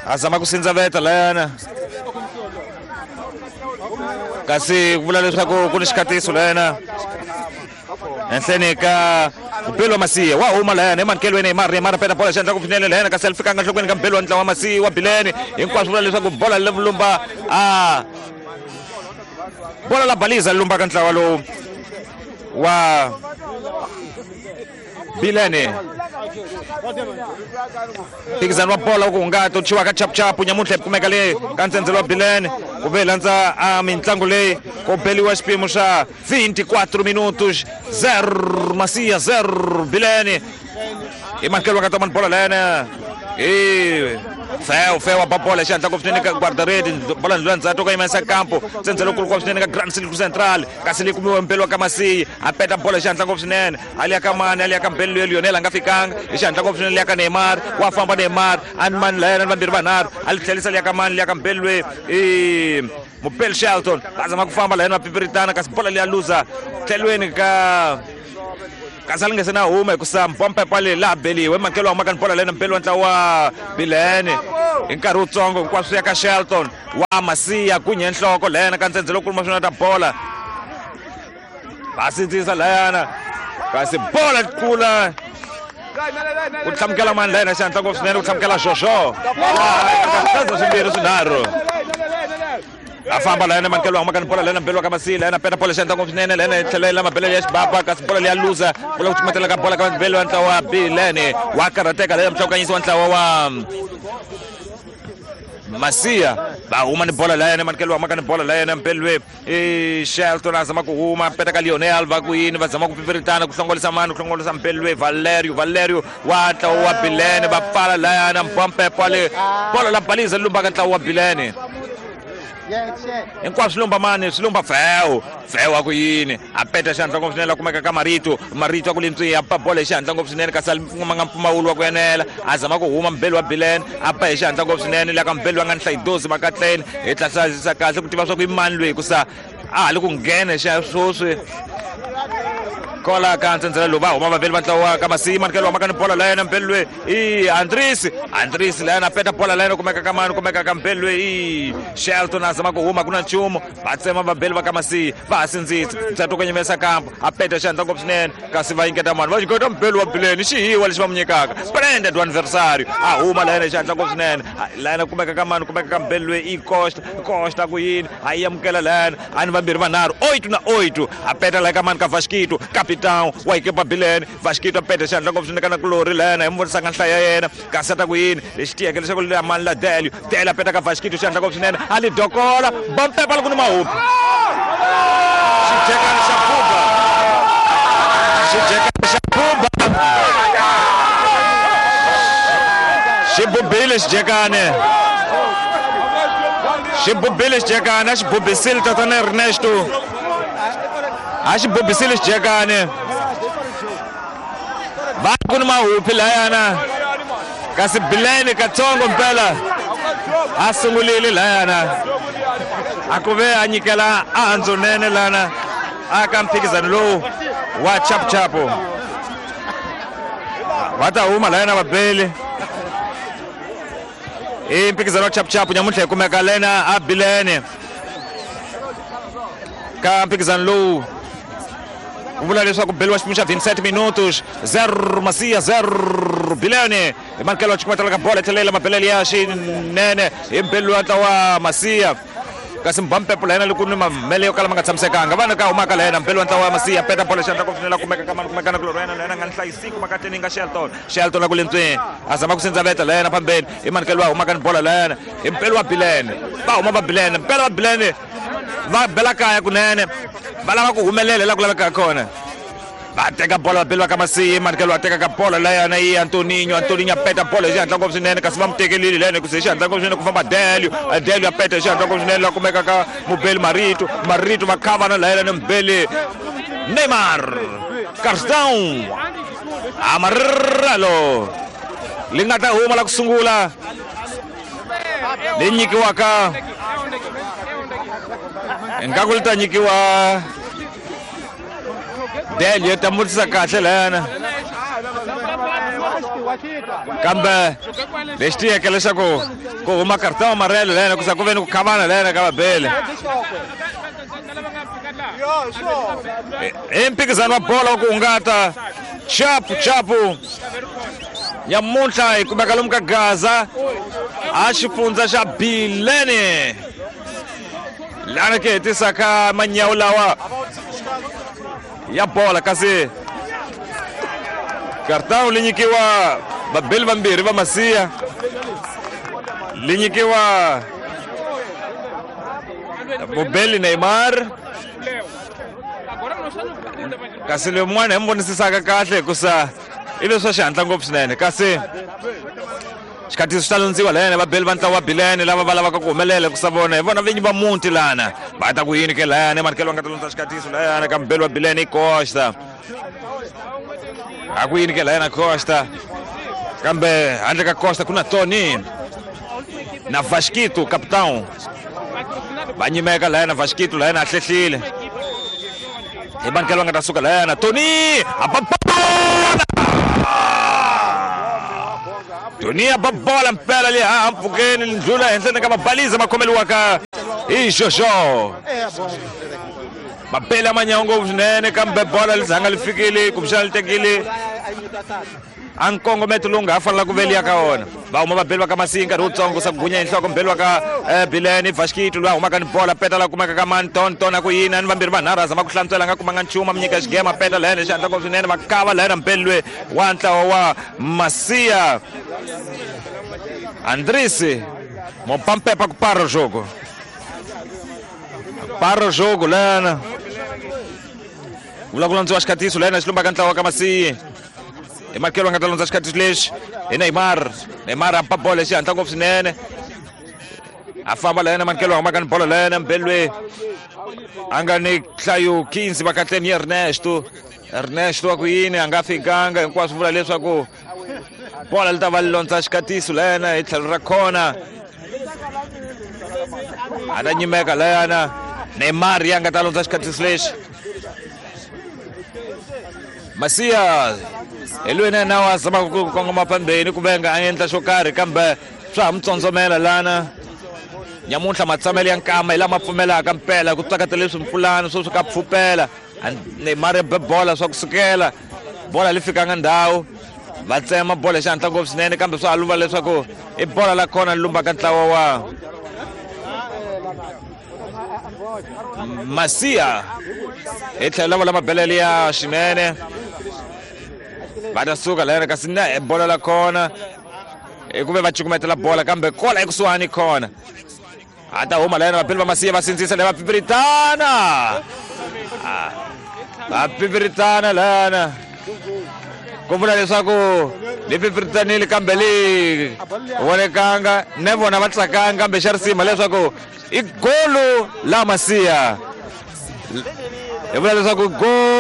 A zama ku sindzaveta layana kasi ku vula leswaku ku ni xikatiso layana henhleni ka Mbelo wa Masiya wa huma layana emankelweni Neymar. Neymar peta bola xandla ku finele layana kasi ali fikanga nhlokweni ka Mbelo wa ntlawa wa Masiya wa Bilene. Hinkwaswo vula leswaku bola le lumba a bola la baliza lumba ka ntlawa lowu wa Bilene. Mphikizano wa bola ku hungata u chiwa ka chapuchapu nyamuntlha hi kumeka le ka ntsendzelo wa Bilene ku ve landza a mitlangu leyi ku beliwa xipimo xa 24 minutos 0 Masiya 0 Bilene. Hi mankelo wa ka tomani bola layana hi feo feo ba bola xi hatla ngopfu swinene ka guardaredi bola ndlula ndzhaku ka yimesa campo ntsendzelo kulu ngopfu swinene ka Grand Silk Central kasi leyi kumiwe mpelo ka Masiya a peta bola xi hatla ngopfu swinene a liya ka mani a liya ka Mbelo loyi Lionel a nga fikanga hi xihatla ngopfu swinene liya ka Neymar wa famba Neymar a ni mani layana ni vambirhi vanharhu a li tlhelisa liya ka mani liya ka Mbelo loyi i Mupel Shelton va zama ku famba layani va pipiritana kasi bola liya luza tlhelweni ka kasi a li nge se na huma hikusa mpompepa leyi laha beliwe mankelo wa humaka ni bola lena Mbelo wa ntlawa wa Bilene hi nkarhi wutsongo hinkwaswo ya ka Shelton wa Masiya kunye nhloko layana ka ntsendzelo lowu kuluma swinene ta bola va sindzisa layana kasi bola kula ku tlhamukela mani layana xihatla ngopfu swinene ku tlhamukela Jojo kaza swimbirhi swinharhu a famba layana mankelo wa humaka ni bola layana Mbelo wa ka Masiya layana peta bola xihatla ngopfu swinene layana yi tlhela yi la mabelele ya xibaba kasi bola leya luza bola ku cukumetela ka bola ka Mbelo wa ntlawa wa Bilene wa karhateka layana muhlawukanyisi wa ntlawa wa Masiya va huma ni bola layana mankelo wa humaka ni bola layana Mbelo i Shelton a zama ku huma peta ka Lionel va ku yini va zama ku pipiritana ku hlongolisa mani ku hlongolisa Mbelo Valerio Valerio wa ntlawa wa Bilene va pfala layana mpompepo le bola la baliza lumbaka ntlawa wa Bilene hinkwaswo swi lumba mani swi lumba feo feo a ku yini a peta xihatla ngopfu swinene la kumeka ka Marito Marito a ku lintswi a ba bola hi xihatla ngopfu swinene kasi a kumanga mpfumawulo wa ku enela a zama ku huma Mbelo wa Bilene a ba hi xihatla ngopfu swinene la ka Mbelo a nga ni hlayidozi makatleni hi tlasazisa kahle ku tiva swa ku i mani loyi hikusa a ha li ku nghena xa swoswi kola ka ntsendzela lowu va huma vaveli va ntlawa ka Masiya manikelo wa maka ni bola layena Mbelo loyi i Andris Andris layena peta bola layena kumeka ka mani kumeka ka Mbelo loyi i Shelton a zama ku huma ku na nchumu va tsema vabeli va ka Masiya va ha sindzisa ntsatu ku nyimesa kampo a peta xihatla ngopfu swinene kasi va nyiketa mani va nyiketa Mbelo wa Bileni xihiwa lexi va mu nyikaka splendid wa adversario a huma layena xihatla ngopfu swinene layena kumeka ka mani kumeka ka Mbelo loyi i Costa Costa ku yini a yi amukela layena a ni vambirhi vanharhu 8 na 8 a peta laya ka mani ka Vasquito capitão wa ekipa Bilene Vasquito a peta xihatla ngopfu swinene ka na kulori layena hi mu vonisanga nhlaya ya yena kasi a ta ku yini lexi tiyeke leswaku leya mani la Delio Delio a peta ka Vasquito xihatla ngopfu swinene a li dokola bompepa loko ni mahupi xijekani xa buba xijekani xa buba xi bubile xijekani xi bubile xijekani a xi bubisile tatana Ernesto a xi bubisile xijekani va ku ni mahupi layana kasi Bilene katsongo mpela a sungulile layana a ku ve a nyikela a nene lana a ka mphikizano lowu wa chapuchapu va ta huma layana vabeli i mphikizano wa chapuchapu nyamuntlha hi kumeka lena a Bilene ka mphikizano lowu ku vula leswaku beliwa xipimo xa 27 minutos 0 Masiya 0 Bilene hi mankelo wa cukumetela ka bola tlhelela mabelele ya xinene hi Mbelo wa ntlawa Masiya kasi mbampepo la yena loko ni mamele yo kala ma nga tshamisekanga vana ka humaka la yena Mbelo wa ntlawa wa Masiya peta bola xandla ku finela kumeka ka mani kumeka na kulorhi yena la yena nga ni hlayisiku makateni nga Shelton Shelton a ku lentsweni a zama ku sindzaveta la yena phambeni hi manikelo wa humaka ni bola la yena hi Mbelo wa Bilene va huma va Bilene Mbelo wa Bilene va bela kaya kunene va lava ku humelela la ku lavekaka kona va teka bola va beliwa ka Masiya manikelo wa teka ka bola layana i Antoninho Antoninho a peta bola hi xihatla ngopfu swinene kasi va mu tekelile layana ku se hi xihatla ngopfu swinene ku famba Delio Delio a peta hi xihatla ngopfu swinene la kumeka ka mubeli Marito Marito va khavana layana ni mubeli Neymar Carstão Amarelo li nga ta huma la ku sungula leyi nyikiwaka ingaku li ta nyikiwa Delio ta mutisa kahle layana Kambe lexi tiyeke leswaku ku huma cartão amarelo lena ku sa ku ve ni ku khavana lena ka vabeli. I mphikizano wa bolo wa ku hungata chapu chapu nyamuntlha hi kumeka lomu ka Gaza a xifundza xa Bilene lana ke hetisaka manyawu lawa ya bola kasi cartão li nyikiwa vabeli vambirhi va Masiya li nyikiwa mubeli Neymar kasi lowun'wana hi mi vonisisaka kahle hikusa i leswi swa xihatla ngopfu swinene kasi xikhatisi swi ta lundziwa lana vabeli va ntlawa wa Bilene lava va lavaka ku humelela hikusa vona hi vona vinyi va muti lana va ta ku yini ke layani manikelo va nga ta lundza xikhatisi layana ka mubeli wa Bilene i Costa a ku yini ke layana Costa kambe handle ka Costa ku na Tony na Vasquito capitão va nyimeka layana Vasquito layana a hlehlile hi manikelo va nga ta suka layana Tony a ba bola Tony a ba bola mpela leyi haha mpfhukeni ndlula henhleni ka mabaliza ma khomeliwaka hi Jojo mabeli a manyawa ngopfu swinene kambe bola li zanga li fikile kumbexana li tekile a nkongometo lowu nga ha fanela ku veliya ka wona va huma vabeli va ka Masiya nkarhi wutsongo sa ku gunya hi nhloko mbeli wa ka Bilene Vasquito loyi a humaka ni bola peta la kumeka ka mani ton ton a ku yini ani vambirhi vanharhu a zama ku hlantswela a nga kumanga nchumu a mi nyika xigema peta layena xihatla ngopfu swinene va kava layena mbeli loyi wa ntlawa wa Masiya Andrisi mopampepa ku para jogo para jogo lana vula ku landziwa xikhatiso layena xi lumbaka ntlawa ka Masiya hi makelo a nga ta lundza xikhatiso lexi hi Neymar Neymar a ba bolo xihatla ngopfu swinene a famba layena manikelo a humaka ni bolo layena mbeli loyi a nga ni nhlayo 15 vakatleni Ernesto Ernesto wa ku yini a nga fikanga hinkwaswo vula leswaku bola li ta va li londza xikhatiso layena hi tlhelo ra khona a ta nyimeka layana Neymar ya nga ta londza xikhatiso lexi Masiya hi loyi na yena wa zamaka ku kongoma phambeni ku venga a endla xo karhi kambe swa ha mi tsondzomela lana nyamuntlha matsamelo ya nkama hi lama pfumelaka mpela ku tsakata leswi mpfulana swo swi ka pfupela Neymar ya be bola swa kusukela bola li fikanga ndhawu va tsema bola xihatla ngopfu swinene kambe swa ha luva leswaku i bola la kona li lumbaka ntlawa wa Masiya hi tlhelo lava la mabelele ya xinene va ta suka layana kasi na bola la kona hi ku ve va cukumetela bola kambe kola ekusuhani khona a ta huma layana vabeli va Masiya va sindzisa leyi va pipiritana va pipiritana layana ku vula leswaku li pipiritanile kambe li vonekanga ne vona va tsakanga kambe xa risima leswaku i golo la Masiya hi vula leswaku golo.